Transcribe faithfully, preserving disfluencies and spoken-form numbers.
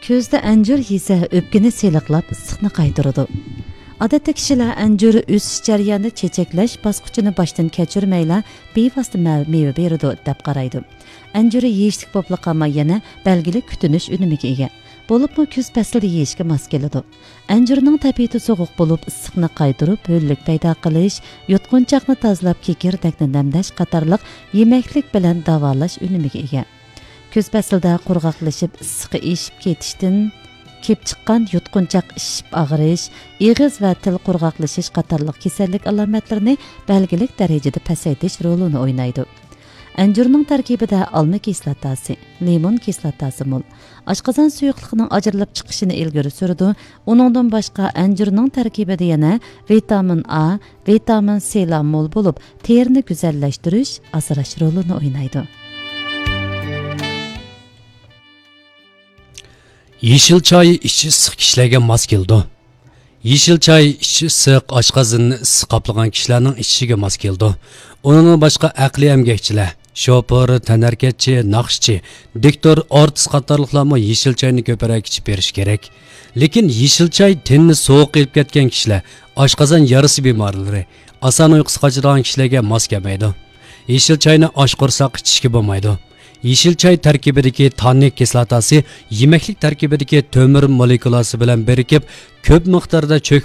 كۈزدە ئەنجۈر يېسە، ئۆپكىنى سېلىقلاپ، ئىسسىقنى قايتۇرىدۇ. ئادەتتە كىشىلەر ئەنجۈر ئۆسۈش جەريانىدا چېچەكلەش باسقۇچىنى باشتىن كەچۈرمەيلا، بىۋاسىتە مە-، مېۋە بېرىدۇ، دەپ قارايدۇ. ئەنجۈر يېيىشلىك بولۇپلا قالماي، يەنە بەلگىلىك كۈتۈنۈش ئۈنۈمىگە ئىگە. بولۇپمۇ كۈز پەسلىدە يېيىشكە ماس كېلىدۇ. ئەنجۈرنىڭ تەبىئىتى سوغۇق بولۇپ، ئىسسىقنى قايتۇرۇپ، ھۆللۈك پەيدا قىلىش، يۇتقۇنچاقنى تازىلاپ، كېكىردەكنى نەمدەش قاتارلىق يېمەكلىك بىلەن داۋالاش ئۈنۈمىگە ئىگە. كۈز پەسلىدە قۇرغاقلىشىپ، ئىسسىقى ئېشىپ كېتىشتىن كېلىپ چىققان يۇتقۇنچاق ئىششىپ ئاغرىش، ئېغىز ۋە تىل قۇرغاقلىشىش قاتارلىق كېسەللىك ئالامەتلىرىنى بەلگىلىك دەرىجىدە پەسەيتىش رولىنى ئوينايدۇ. ئەنجۈرنىڭ تەركىبىدە ئالما كىسلاتاسى، لىمون كىسلاتاسى مول. ئاشقازان سۇيۇقلۇقىنىڭ ئاجرىلىپ چىقىشىنى ئىلگىرى سۈرىدۇ. ئۇنىڭدىن باشقا، ئەنجۈرنىڭ تەركىبىدە يەنە ۋىتامىن ئا، ۋىتامىن سىلار مول بولۇپ، تېرىنى گۈزەللەشتۈرۈش، ئاسراش رولىنى ئوينايدۇ. يېشىل چاي ئىچىش ئىسسىق كىشىلەرگە ماس كېلىدۇ. يېشىل چاي ئىچىش ئىسسىق، ئاشقازىنىنى ئىسسىق قاپلىغان كىشىلەرنىڭ ئىچىشىگە ماس كېلىدۇ. ئۇنىڭدىن باشقا ئەقلىي ئەمگەكچىلەر، شوپۇر، تەنھەرىكەتچى، ناخشىچى، دىكتور، ئارتىس قاتارلىقلارمۇ يېشىل چاينى كۆپرەك ئىچىپ بېرىشى كېرەك. لېكىن يېشىل چاي تېنىنى سوغۇق ئېلىپ كەتكەن كىشىلەر، ئاشقازان يارىسى بىمارلىرى، ئاسان ئۇيقۇسى قاچىدىغان كىشىلەرگە ماس كەلمەيدۇ. يېشىل چاينى ئاچ قورساق ئىچىشكە بولمايدۇ. يېشىل چاي تەركىبىدىكى تاننىك كىسلاتاسى يېمەكلىك تەركىبىدىكى تۆمۈر مولېكۇلاسى بىلەن بىرىكىپ، كۆپ مىقداردا چۆكۈپ